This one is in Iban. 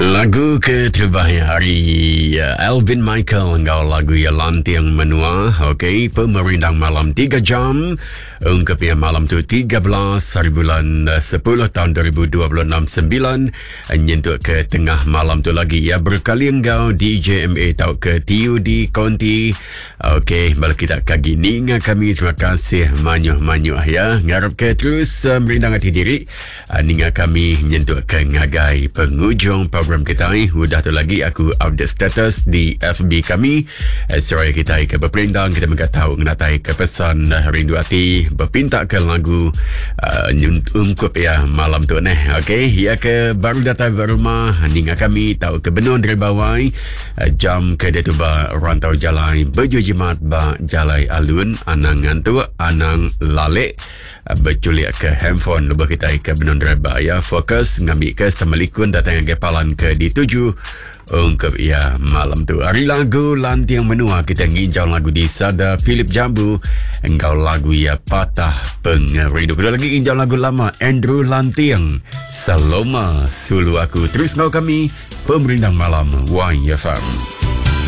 Lagu ke terubah ya ari eh, Alvin Michael enggau lagu ya Lanting Menua. Okey, pemerindang malam 3 jam. Ungkup ya malam tu 13 hari bulan 10 eh, tahun 2026 9 eh, nyentuk ke tengah malam tu lagi ya berkali enggau DJMA tau ke TUD Konti. Okey, bala kita kagi ninga kami terima kasih manyuh-manyuh ya. Ngarap ke terus uh, merindang hati diri uh, ninga kami nyentuk ke ngagai pengujung program kita. Udah tu lagi aku update status di FB kami. Uh, seraya kita ke berperindang kita mega tahu ngenatai ke pesan uh, rindu ati berpinta ke lagu uh, ungkup ya malam tu neh. Okey, ya ke baru datang ke rumah ninga kami tahu ke benung dari bawai Jam ke diatu ba rantau jalai bejejimat ba jalai alun anang ngantuk anang lalik bechulik ke handphone lebuh kitai ke benung driba ya fokus ngambi ke semelikun datai ngagai palan ke dituju ungkup iya malam tu. Ari lagu Lanting Menua kita nginjau lagu di Sada Philip Jambu enggau lagu iya Patah Pengerindu. Kedua lagi nginjau lagu lama Andrew Lanting Saloma Sulu Aku. Terus enggau kami Pemerindang Malam YFM.